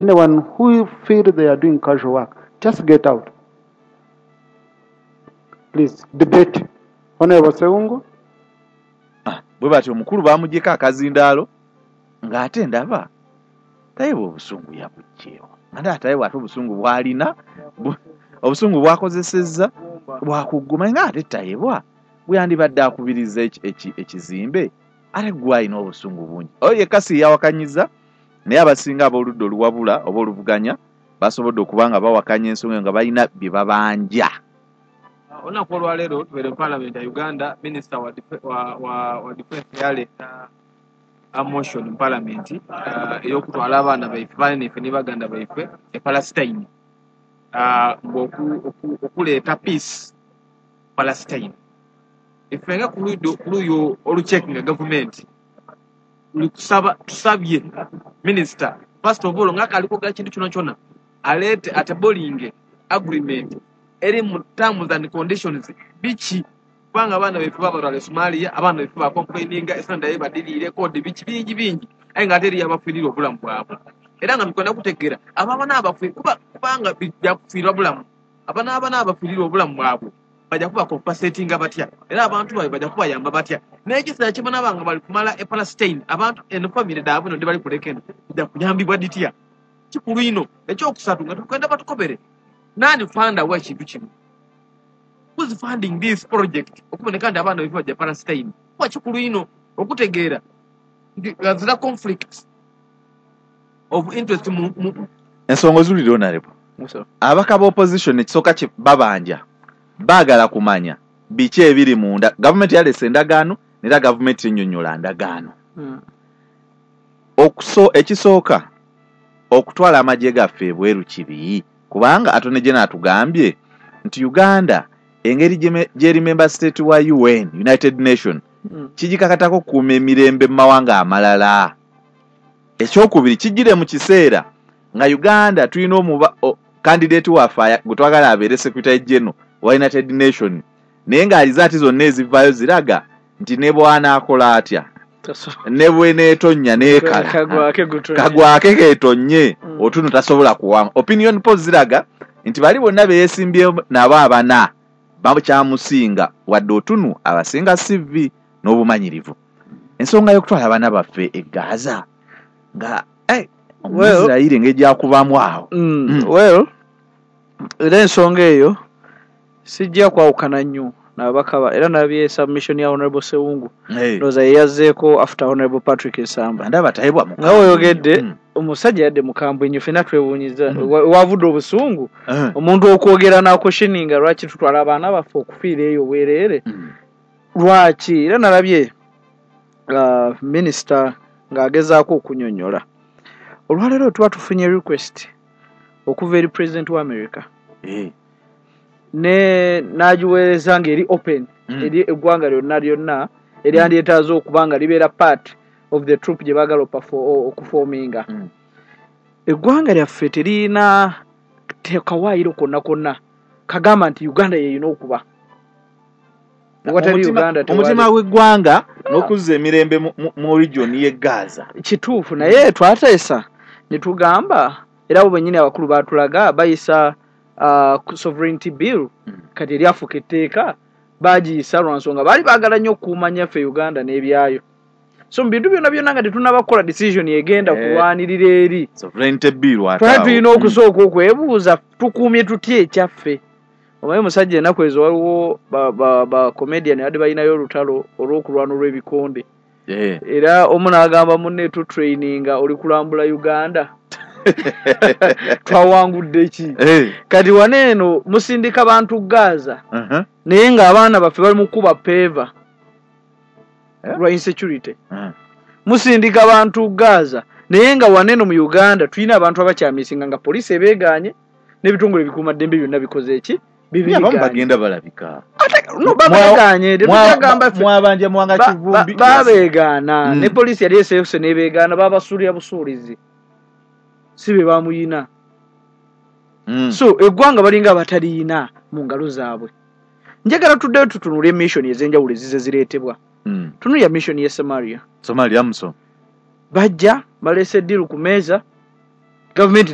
Anyone who feel they are doing casual work, just get out. Please, debate. Honorable Sewungu. Ah, bwe batyo omukulu bamugyeko akazindaalo, ng'ate ndaba Tayebwa obusungu yabuggyeewa, ate Tayebwa ate obusungu bw'alina, obusungu bwakozesezza bwakugguma, ng'ate Tayebwa bwe yandibadde akubiriza ekizimbe, ate gwe alina obusungu bungi. Oyo yekka si yawakanyiza, naye abasinga ab'oludda oluwabula oba oluvuganya basobodde okuba nga bawakanya ensonga nga balina bye babanja. Olunaku olwaleero tubeere mu Parliament ya Uganda, Minisita wa Defense yaleeta a motion mu Parliament ey'okutwala abaana baife, baana ife ne baganda baife e Palestine, okuleeta peace Palestine. Ife nga ku luuyi olucheckinga gavumenti tusaba, tusabye minisita first of all nga akali kwogera kintu kyona kyona aleete atablinge agreement eri mu terms and conditions biki, kubanga abaana baife babatwala e Somalia, abaana baife bacomplaininga esanda ye badiriire kodi biki bingi bingi, aye nga ate eriyo abafiirira obulamu bwabwe. Era nga tukwenda kutegeera abo abaana abafiirira, kubanga byakufiirwa bulamu, abaana abaana abafiirira obulamu bwabwe bajja kuba compensatinga batya, era abantu baabwe bajja kubayamba batya. N'ekiseera kibanaba nga bali kumala e Palestine, abantu eno famire daabwe eno bali kuleka eno bijja kuyambibwa ditya. Kikulu ino. Ekyokusatu nga tukwenda batukobere nani funder w'ekintu kino, who's funding this project okuboneka nti abaana baife bajja Palestine. Kuba kikulu ino okutegeera nti ghazira conflict of interest mu ensonga ozulire. Honorable, ababaka ba opposition ekisooka babanja baagala kumanya biki ebiri munda. Gavumenti yaleese endagaano, nera gavumenti ennyonnyola ndagaano. Ekisooka, okutwala amagye gaffe ebweru kibi, kubanga Attorney General atugambye nti Uganda engeri gyeri member state wa UN, United Nation, kigikakatako okukuuma emirembe mu mawanga amalala. Ekyokubiri, kijjire mu kiseera nga Uganda tulina omuba candidate waffe gwe twagala abeere Secretary General wa United Nation, naye ng'alizaati zonna ezivaayo ziraga nti ne bw'anaakola atya, ne bweneetonnya neekala kagwake keetonnye, otuno tasobola kuwanga. Opinion polls ziraga nti bali bonna beyeesimbye nabo abana bakyamusinga, wadde Otunu abasinga CV n'obumanyirivu. Ensonga y'okutwala abaana baffe e Gaza nga Omuisirayiri engeri gyakubamu awo. Well, era ensonga eyo sijja kwawukana nnyo nababaka, era nabye submission ya Honorable Sewungu, ndowooza yeyazzeeko after Honorable Patrick Nsamba. Ndaba Tayebwa. Nga weoyogedde, omusajja yadde mukambwe nnyo, fenna twewuunyiza wavudde obusungu omuntu okwogera naquestioninga lwaki tutwala abaana baffe okufiira eyo bwereere, lwaki. Era nalabye minisita ng'agezaako okunyonnyola. Olwaleero tuba tufunye request okuva eri President wa America ne n'agiweereza ng'eri open eri eggwanga lyonna lyonna eryandyetaaze okuba nga libeera part of the troop gye baagala okuforminga. Eggwanga lyaffe teriyina kawaayiro konna konna kagamba nti Uganda yeyina okuba watali Uganda. Omutima gw'eggwanga n'okuzza emirembe mu region y'e Gaza. Kituufu, naye twateesa ne tugamba, era abo bennyini abakulu baatulaga bayisa sovereignty bill. Kati eryafuuka etteeka bagiyisa lwa nsonga baali baagala nnyo okukuuma nnyaffe Uganda n'ebyayo. So mu bintu byonna byonna nga tetunnaba kukola decision egenda kulwanirira eri, sovereignty bill. Twali tulina okusooka okwebuuza tukuumye tutya ekyaffe. Omanyi omusajja, ennaku ezo waliwo ba comedian badde balinayo olutalo olw'okulwana olw'ebikonde, era omu n'agamba munne, "Tutraininga oli kulambula Uganda, twawangudde ki?" Kati wano eno musindika bantu Gaza, naye ng'abaana baffe bali mu kuba paver lwa insecurity. Musindika bantu Gaza, naye nga wano eno mu Uganda tulina abantu abakyamisinga nga poliisi ebeegaanye n'ebitongole ebikuumaddembe byonna bikoze eki? Abamu bagenda balabika. No, babeegaanye, tetugamba. Mwabanja Mwanga Kivumbi. Babeegaana ne poliisi yali eseese n'ebeegaana, babasuulira busuulizi, si be bamuyina. So eggwanga balinga abataliyina mu ngalo zaabwe. Njagala tuddeyo tutunule mission ez'enjawulo ezize zireetebwa. Tunulya mission ye Somalia. Somalia muso. Bajja baleese deal ku meeza. Gavumenti.